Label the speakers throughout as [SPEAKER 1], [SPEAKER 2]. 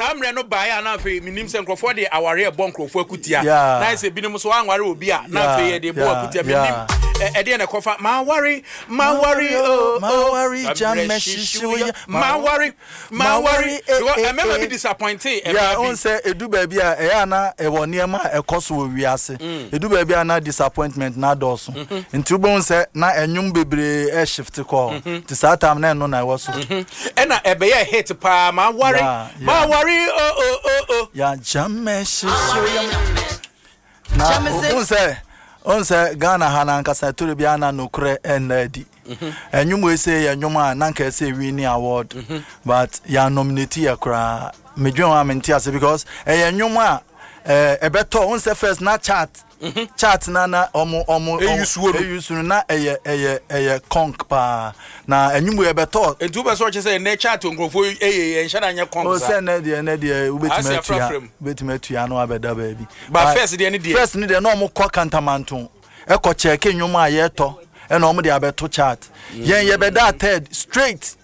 [SPEAKER 1] Saa mmerɛ no baeɛ a na afei menim sɛ nkurɔfoɔ de awareɛ bɔ nkurɔfoɔ akutia.
[SPEAKER 2] Yeah.
[SPEAKER 1] Na ayɛ sɛ binom so anware obi a na afei yɛde bɔ
[SPEAKER 2] Yeah,
[SPEAKER 1] akutia. Menim
[SPEAKER 2] yeah.
[SPEAKER 1] ɛdeɛ na ɛkɔfa maware maware oh oh.
[SPEAKER 2] Maware,
[SPEAKER 1] Saa mmerɛ
[SPEAKER 2] jame
[SPEAKER 1] hyehye
[SPEAKER 2] hyehye
[SPEAKER 1] wo ya.
[SPEAKER 2] wo ya.
[SPEAKER 1] Maware maware.
[SPEAKER 2] Maware, eh,
[SPEAKER 1] Because
[SPEAKER 2] eh,
[SPEAKER 1] ɛmɛma bi
[SPEAKER 2] eh.
[SPEAKER 1] disappointe
[SPEAKER 2] Yeah,
[SPEAKER 1] ɛmaa
[SPEAKER 2] wohu
[SPEAKER 1] bi.
[SPEAKER 2] sɛ ɛdu baabi a ɛyɛ a na ɛwɔ nneɛma a ɛkɔ so wɔ wiase. Ɛdu baabi a na disappointment no adɔɔso. Nti wobɛhu sɛ na ɛnwom bebree ɛreshift kɔ hɔ. Nti saa time na ɛno na ɛwɔ so.
[SPEAKER 1] Ɛna ɛbɛyɛ hit paa maware maware oh oh oh oh.
[SPEAKER 2] Ya jame hyehye wo yam. Na wohu sɛ wohu sɛ Ghana ha no ankasa ɛtɔrɔ bi a na nokorɛ ɛnna adi. Ɛnwom wei sɛ yɛ nnwom a na nka ɛsɛ win award but yɛ nominate yɛ koraa. Medwen ho a mente ase because ɛyɛ nnwom a ɛbɛtɔ wohu sɛ first na chart chart na na ɔmo ɔmo
[SPEAKER 1] Eyi suo no.
[SPEAKER 2] eyi su no na ɛyɛ ɛyɛ ɛyɛ conk paa na ɛnwom wei ɛbɛtɔ.
[SPEAKER 1] Nti wopɛ sɛ ɔkyɛ sɛ ɛnɛ chart nkurɔfoɔ ɛyɛ yɛ nhyɛ da nyɛ conk
[SPEAKER 2] O
[SPEAKER 1] saa.
[SPEAKER 2] sɛ ɛnɛ deɛ ɛnɛ deɛ wobɛtumi
[SPEAKER 1] Ase
[SPEAKER 2] atua
[SPEAKER 1] afrafra mu.
[SPEAKER 2] wobɛtumi atua na wabɛda baabi.
[SPEAKER 1] But first deɛ ne deɛ.
[SPEAKER 2] First ne deɛ na ɔmo kɔ Kantamanto ɛkɔ kyɛɛke nnwom a yɛtɔ ɛna ɔmo de abɛto chart. Yɛn yɛbɛda third straight.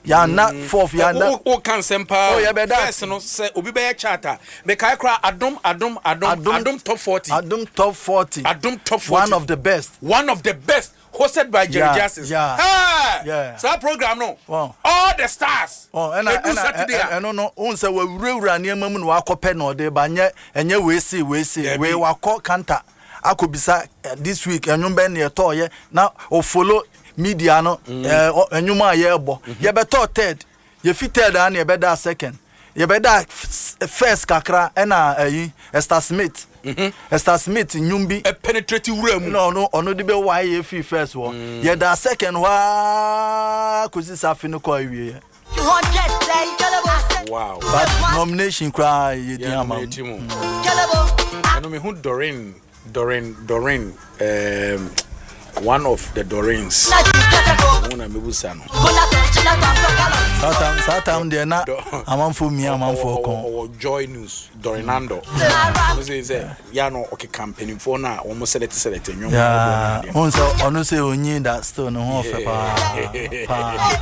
[SPEAKER 2] Yɛanna fourth yɛanna.
[SPEAKER 1] Wo ka nsɛm paa.
[SPEAKER 2] Oh, yɛbɛda.
[SPEAKER 1] First no sɛ obi bɛyɛ chart a mekae koraa Adom Adom Adom Adom top 40.
[SPEAKER 2] Adom top 40.
[SPEAKER 1] Adom top 40.
[SPEAKER 2] One of the best.
[SPEAKER 1] One of the best hosted by Jerry Justice.
[SPEAKER 2] Yeah.
[SPEAKER 1] Hey!
[SPEAKER 2] Yeah.
[SPEAKER 1] Saa program no.
[SPEAKER 2] Wow.
[SPEAKER 1] All the stars.
[SPEAKER 2] Oh, ɛna
[SPEAKER 1] Edu
[SPEAKER 2] ɛna
[SPEAKER 1] Saturday a.
[SPEAKER 2] ɛno no wohu sɛ wawurawura nneɛma mu na wakɔpɛ na ɔde ba nyɛ ɛnyɛ wei se wei se
[SPEAKER 1] Dabi.
[SPEAKER 2] wei wakɔ kanta akɔbisa this week ɛnwom bɛn ne ɛtɔɔyɛ na ɔfollow media no ɛnwom a yɛrebɔ. Yɛbɛtɔɔ third, yɛfi third a na yɛbɛdaa second, yɛbɛdaa first kakra ɛna ɛyi Esther Smith, Esther Smith nnwom bi
[SPEAKER 1] Ɛpenetrate wura mu.
[SPEAKER 2] na ɔno ɔno de bɛwae yɛ fii first hɔ. Yɛdaa second hɔ ara kɔsi sɛ afe no kɔɔ awieɛ.
[SPEAKER 1] Wow.
[SPEAKER 2] But nomination koraa yɛdi
[SPEAKER 1] Yeah,
[SPEAKER 2] ama mu.
[SPEAKER 1] nominate mu. Ɛno mehu Doreen Doreen Doreen one of the Doreens. Wɔn na mebusa no.
[SPEAKER 2] Saa time saa time deɛ na amanfoɔ mia amanfoɔ kɔn.
[SPEAKER 1] Ɔwɔ Joy News Doreen Nando. Ɔno sɛ sɛ ya no ɔkeka mpanimfoɔ no a wɔn sɛlɛte sɛlɛte nnwom.
[SPEAKER 2] Yeah, wohu sɛ ɔno sɛ ɔnyin da still ne ho ɔfɛ paa paa.